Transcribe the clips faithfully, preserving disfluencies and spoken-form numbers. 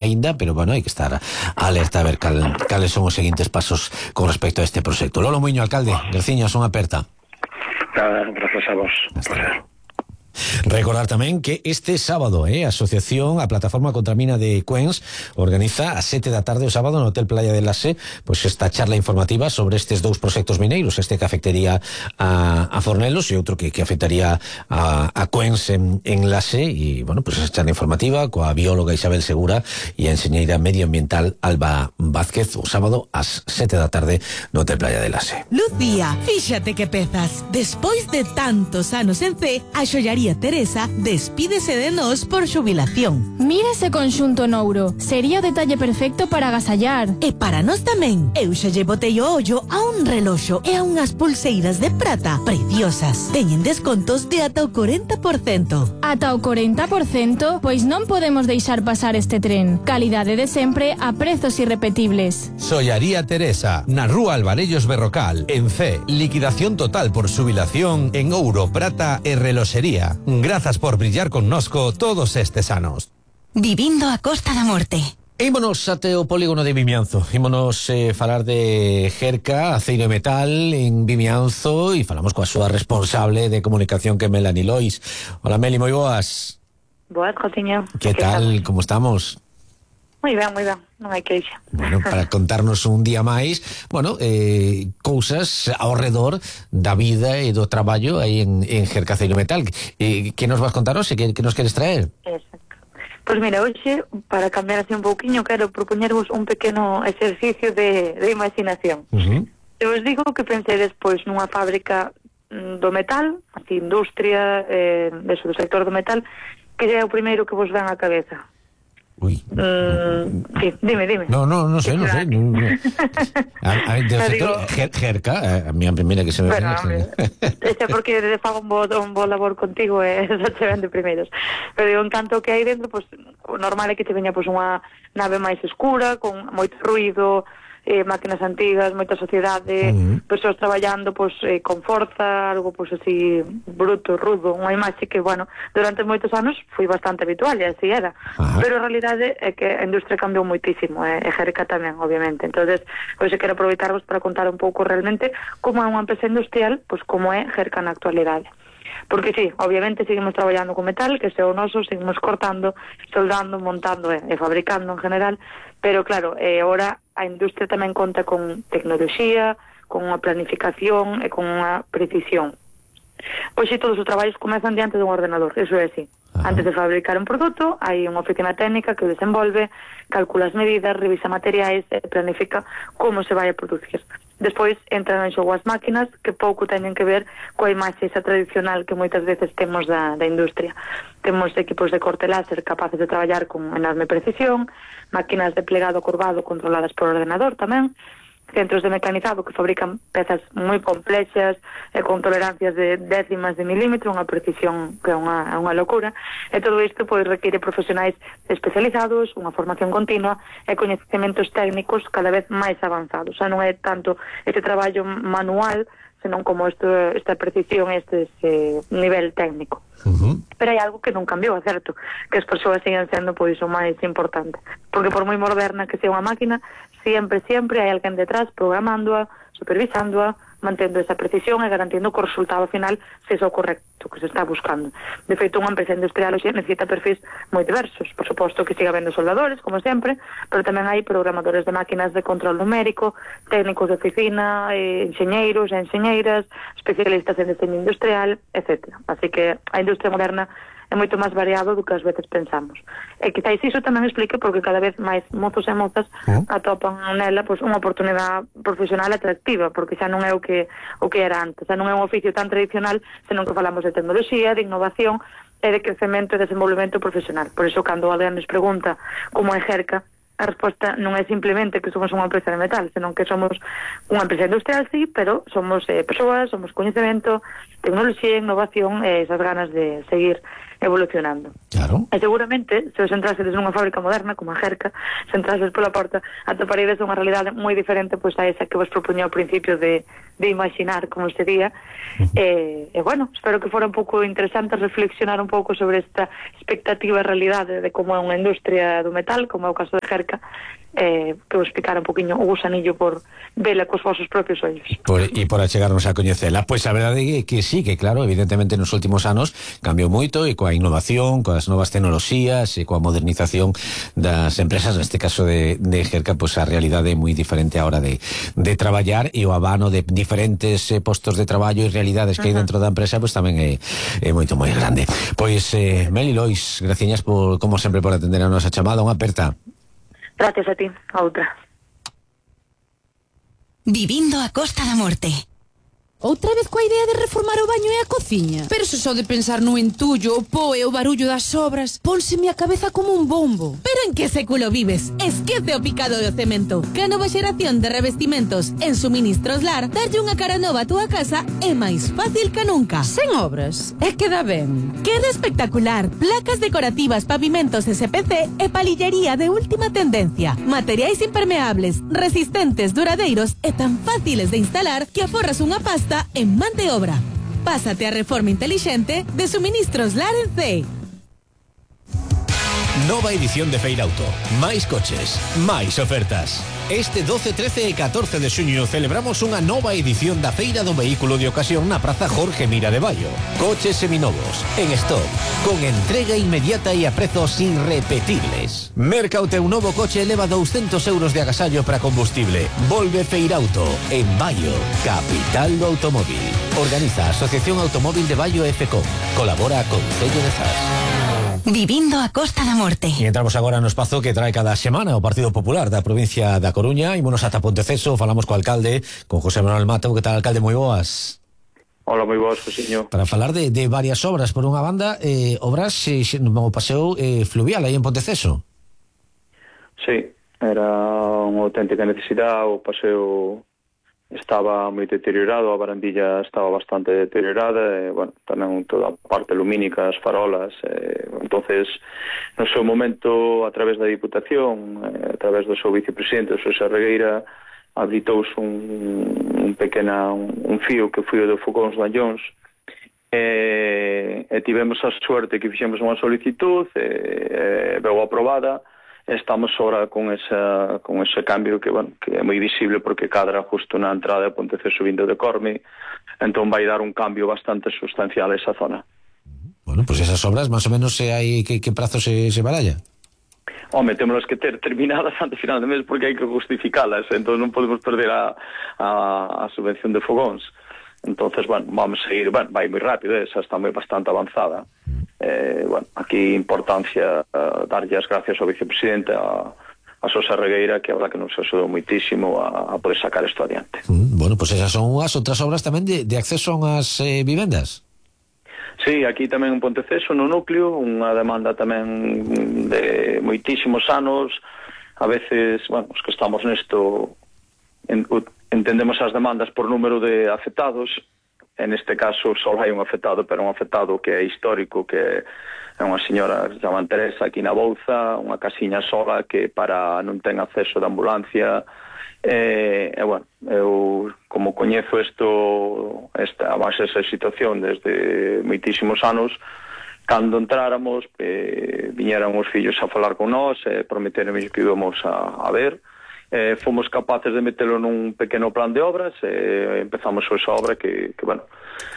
ainda, pero bueno, hai que estar alerta a ver cal, cales son os seguintes pasos con respecto a este proxecto. Lolo Muiño, alcalde, graciñas, son aperta. Nada, gracias a vos. Hasta luego. Recordar tamén que este sábado eh, a Asociación, a Plataforma contra a Mina de Cuens, organiza a sete da tarde o sábado no Hotel Playa de Lase pois esta charla informativa sobre estes dous proxectos mineiros, este que afectaría a, a Fornelos e outro que, que afectaría a, a Cuens en, en Lase. E, bueno, pois esa charla informativa coa bióloga Isabel Segura e a enxeñeira medioambiental Alba Vázquez o sábado ás sete da tarde no Hotel Playa de Lase. Lucía, fíxate que pezas. Despois de tantos anos en C, a xollaría Teresa despídese de nós por xubilación. Mira ese conxunto nouro. Sería o detalle perfecto para agasallar. E para nós tamén. Eu xa lle botei o ollo a un reloxo e a unhas pulseiras de prata preciosas. Teñen descontos de ata o corenta por cento. Ata o corenta por cento? Pois non podemos deixar pasar este tren. Calidade de sempre a prezos irrepetibles. Xollaría Teresa, na rúa Alvarellos Berrocal, en C. Liquidación total por xubilación en ouro, prata e reloxería. Grazas por brillar connosco todos estes anos. Vivindo a Costa da Morte. Ímonos ate o polígono de Vimianzo. Ímonos eh, falar de Jerca, aceiro e metal en Vimianzo, e falamos coa súa responsable de comunicación, que é Melanie Lois. Hola Meli, moi boas. Boas, Josiño. Que tal, como estamos? Moi ben, moi ben, non hai queixa. Bueno, para contarnos un día máis, bueno, eh, cousas ao redor da vida e do traballo aí en, en Jerca Aceiro e Metal. Eh, que nos vas contar hoxe? Que, que nos queres traer? Exacto. Pois mira, hoxe, para cambiar así un pouquiño, quero propoñervos un pequeno exercicio de, de imaginación. Uh-huh. Eu os digo que pensei despois nunha fábrica do metal, así, industria, eh, deso, do sector do metal, que é o primeiro que vos ven á cabeza. Uy. Mm, sí, dime, dime. No, no, no sé, no sé. No, no. A, a, del no sector, digo... Jer, Jerca, a mí a primeira que se me bueno, ven. Este porque de fago un bo, un bo labor contigo e eh, xa te ven de primeiros. Pero digo, en canto que hai dentro, pues, o normal é que te veña pues, unha nave máis escura, con moito ruido, eh, máquinas antigas, moita sociedade, uh-huh. persoas traballando pues, eh, con forza, algo pues, así bruto, rudo, unha imaxe que, bueno, durante moitos anos foi bastante habitual e así era, uh-huh. pero a realidade é que a industria cambiou moitísimo, eh, e Jerca tamén, obviamente. Entonces, pois quero aproveitarvos para contar un pouco realmente como é unha empresa industrial, pois como é Jerca na actualidade. Porque sí, obviamente seguimos traballando con metal, que é o noso, seguimos cortando, soldando, montando e, e fabricando en general, pero claro, eh, ahora a industria tamén conta con tecnoloxía, con unha planificación e con unha precisión. Pois si todos os traballos comezan diante dun ordenador, eso é así. Ajá. Antes de fabricar un produto, hai unha oficina técnica que o desenvolve, calcula as medidas, revisa materiais e planifica como se vai a producir. Despois entran en xogo as máquinas, que pouco teñen que ver coa imaxe esa tradicional que moitas veces temos da, da industria. Temos equipos de corte láser capaces de traballar con enorme precisión, máquinas de plegado curvado controladas por ordenador tamén, centros de mecanizado que fabrican pezas moi complexas e con tolerancias de décimas de milímetro, unha precisión que é unha, unha locura, e todo isto pois, require profesionais especializados, unha formación continua e coñecementos técnicos cada vez máis avanzados. Xa non é tanto este traballo manual, senón como esto, esta precisión, este, este nivel técnico. Uh-huh. Pero hai algo que non cambiou, é certo, que as persoas siguen sendo pois o máis importante, porque por moi moderna que sea unha máquina, sempre, sempre hai alguén detrás programándoa, supervisándoa, mantendo esa precisión e garantindo que o resultado final sexa o correcto que se está buscando. De feito, unha empresa industrial hoxe necesita perfis moi diversos, por suposto que siga habendo soldadores, como sempre, pero tamén hai programadores de máquinas de control numérico, técnicos de oficina, eh, enxeñeiros e enxeñeiras, especialistas en diseño industrial, etcétera. Así que a industria moderna é moito máis variado do que ás veces pensamos. E quizáis iso tamén explique porque cada vez máis mozos e mozas uh-huh. atopan nela pois, unha oportunidade profesional atractiva, porque xa non é o que o que era antes, xa non é un oficio tan tradicional, senón que falamos de tecnoloxía, de innovación e de crecemento e desenvolvemento profesional. Por iso, cando alguén nos pregunta como é Jerca, a resposta non é simplemente que somos unha empresa de metal, senón que somos unha empresa industrial, sí, pero somos eh, persoas, somos coñecemento, tecnoloxía, innovación e esas ganas de seguir evolucionando. Claro. E seguramente, se os entrasedes nunha fábrica moderna, como a Jerca, se entrases pola porta, atoparedes unha realidade moi diferente pois a esa que vos propuña ao principio de, de imaginar como sería. Uh-huh. E, e bueno, espero que fora un pouco interesante reflexionar un pouco sobre esta expectativa e realidade de como é unha industria do metal, como é o caso de Jerca, eh, que vos explicara un poquinho o gusanillo por vela cos vosos propios ollos. Por, e por achegarnos a coñecela. Pois a verdade é que sí, que claro, evidentemente nos últimos anos cambiou moito, e coa innovación, coas novas tecnoloxías e coa modernización das empresas, neste caso de, de Jerca, pois a realidade é moi diferente a hora de, de traballar, e o abano de diferentes eh, postos de traballo e realidades que hai dentro da empresa pois tamén é, é moito moi grande. Pois eh, Meli Lois, graciñas por, como sempre, por atender a nosa chamada. Unha aperta. Gracias a ti, a outra. Vivindo a Costa da Morte. Outra vez coa idea de reformar o baño e a cociña? Pero se só de pensar no entullo, o po e o barullo das obras, pónseme a cabeza como un bombo. Pero en que século vives? Esquece o picado do cemento. Que a nova xeración de revestimentos en Suministros Lar darlle unha cara nova a túa casa é máis fácil que nunca. Sen obras? É que dá ben. Queda espectacular. Placas decorativas, pavimentos S P C e palillería de última tendencia. Materiais impermeables, resistentes, duradeiros e tan fáciles de instalar que aforras unha pasta en man de obra. Pásate a reforma inteligente de Suministros Lar en C. Nova edición de Feirauto. Máis coches, máis ofertas. Este doce, trece e catorce de xuño celebramos unha nova edición da Feira do Vehículo de Ocasión na Praza Jorge Mira de Baio. Coches seminovos, en stock, con entrega inmediata e a prezos irrepetibles. Merca o teu novo coche e leva douscentos euros de agasallo para combustible. Volve Feirauto, en Baio, capital do automóvil. Organiza a Asociación Automóvil de Baio F C O. Colabora con Concello de Zas. Vivindo a Costa da Morte. E entramos agora no espazo que trae cada semana o Partido Popular da provincia da Coruña. Ímonos ata Ponteceso, falamos co alcalde, con José Manuel Mato. Que tal, alcalde? Moi boas. Hola, moi boas, Josiño. Para falar de, de varias obras, por unha banda, eh, obras eh, no paseo eh, fluvial aí en Ponteceso. Sí, era unha auténtica necesidade. O paseo estaba moi deteriorado, a barandilla estaba bastante deteriorada, e, bueno, tamén toda a parte lumínica, as farolas, e, entonces, no seu momento, a través da Diputación, e, a través do seu vicepresidente, o Xosé Regueira, habilitouse un, un pequena, un, un fío que foi o de Fogóns de Anllóns, e, e tivemos a suerte que fixemos unha solicitud, e, e veu aprobada. Estamos ahora con esa con ese cambio que, bueno, que é moi visible porque cadra justo na entrada de Ponteceso vindo de Corme, entón vai dar un cambio bastante sustancial a esa zona. Bueno, pues esas obras, más o menos, se hai que, que prazo se, se baralla? Home, temos que ter terminadas antes final de mes porque hai que justificalas, entón non podemos perder a, a, a subvención de fogóns. Entonces, bueno, vamos a ir, bueno, vai moi rápido, esa está moi bastante avanzada. Eh, bueno, aquí importancia uh, darlle as gracias ao vicepresidente, a, a Xosé Regueira, que a verdad que nos axudou moitísimo a, a poder sacar isto adiante. Mm, bueno, pues esas son as outras obras tamén de, de acceso a as eh, vivendas. Sí, aquí tamén en Ponteceso, no núcleo, unha demanda tamén de moitísimos anos. A veces, bueno, os que estamos nesto en, entendemos as demandas por número de afectados. En este caso só hai un afectado, pero un afectado que é histórico, que é unha señora que se chama Teresa aquí na Bouza, unha casiña sola que para non ten acceso de ambulancia. E, e bueno, eu como coñezo isto, esta, máis esa situación desde moitísimos anos, cando entráramos, eh, viñeran os fillos a falar con nós, e prometeron que íbamos a, a ver. Eh, fomos capaces de metelo nun pequeno plan de obras, e empezamos esa obra que, que bueno,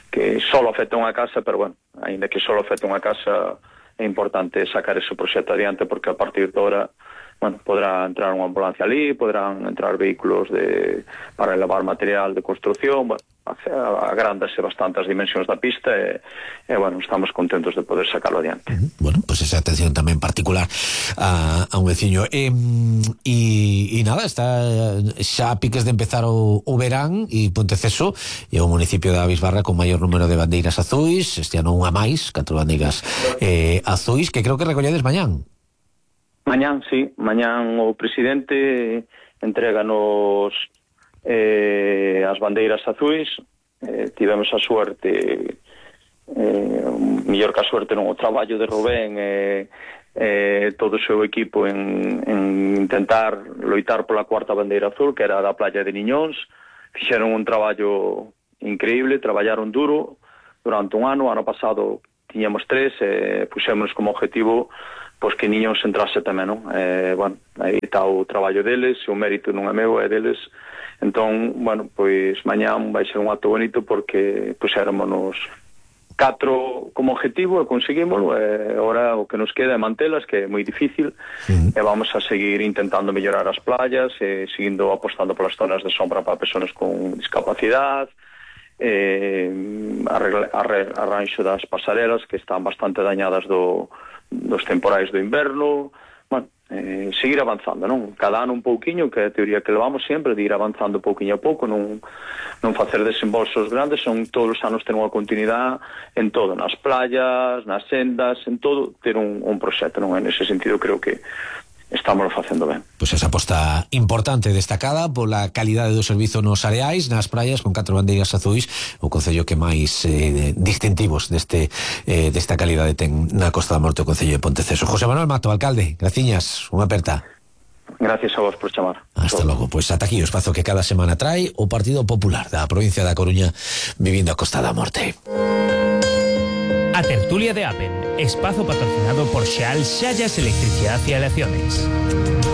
que só afecta unha casa, pero bueno, ainda que só afecta unha casa, é importante sacar ese proxecto adiante, porque a partir de ahora, bueno, podrá entrar unha ambulancia ali, podrán entrar vehículos de, para elevar material de construcción, bueno, agrándase bastante as dimensións da pista, e, e bueno, estamos contentos de poder sacarlo adiante. Bueno, pues esa atención tamén particular a, a un veciño. E, e, e nada, está xa a piques de empezar o, o verán, e Ponteceso é o municipio da Bisbarra con maior número de bandeiras azuis, este ano unha máis, catro bandeiras eh, azuis, que creo que recolledes mañán. Mañán, sí, mañán o presidente entréganos eh, as bandeiras azuis. Eh, tivemos a suerte, eh, mellor que a suerte non o traballo de Rubén e eh, todo o seu equipo en, en intentar loitar pola cuarta bandeira azul, que era da playa de Niñóns. Fixeron un traballo increíble, traballaron duro durante un ano. Ano pasado tiñamos tres e eh, puxémonos como objetivo pois que Niñóns entrase tamén, non? Eh, bueno, aí está o traballo deles, o mérito non é meu, é deles. Entón, bueno, pois mañán vai ser un acto bonito porque puxéromonos catro como objetivo e conseguímoslo, e agora o que nos queda é mantelas, que é moi difícil, uh-huh. e vamos a seguir intentando mellorar as playas, e seguindo apostando polas zonas de sombra para persoas con discapacidade, eh, arranxo das pasarelas que están bastante dañadas do, dos temporais do inverno. Bueno, eh, seguir avanzando, non? Cada ano un pouquiño, que é a teoría que levamos sempre, de ir avanzando pouquiño a pouco, non, non facer desembolsos grandes, son todos os anos ter unha continuidade en todo, nas playas, nas sendas, en todo, ter un, un proxecto, non? En ese sentido creo que estamos facendo ben. Pois esa aposta importante destacada pola calidade do servizo nos areais, nas praias, con catro bandeiras azuis, o concello que máis eh, distintivos deste eh, desta calidade ten na Costa da Morte, o concello de Ponteceso. José Manuel Mato, alcalde, graciñas, unha aperta. Gracias a vos por chamar. Hasta logo. Pois ata aquí o espazo que cada semana trae o Partido Popular da provincia da Coruña vivindo a Costa da Morte. A tertulia de Apen, espazo patrocinado por Xeal Xallas Electricidad y Aleaciones.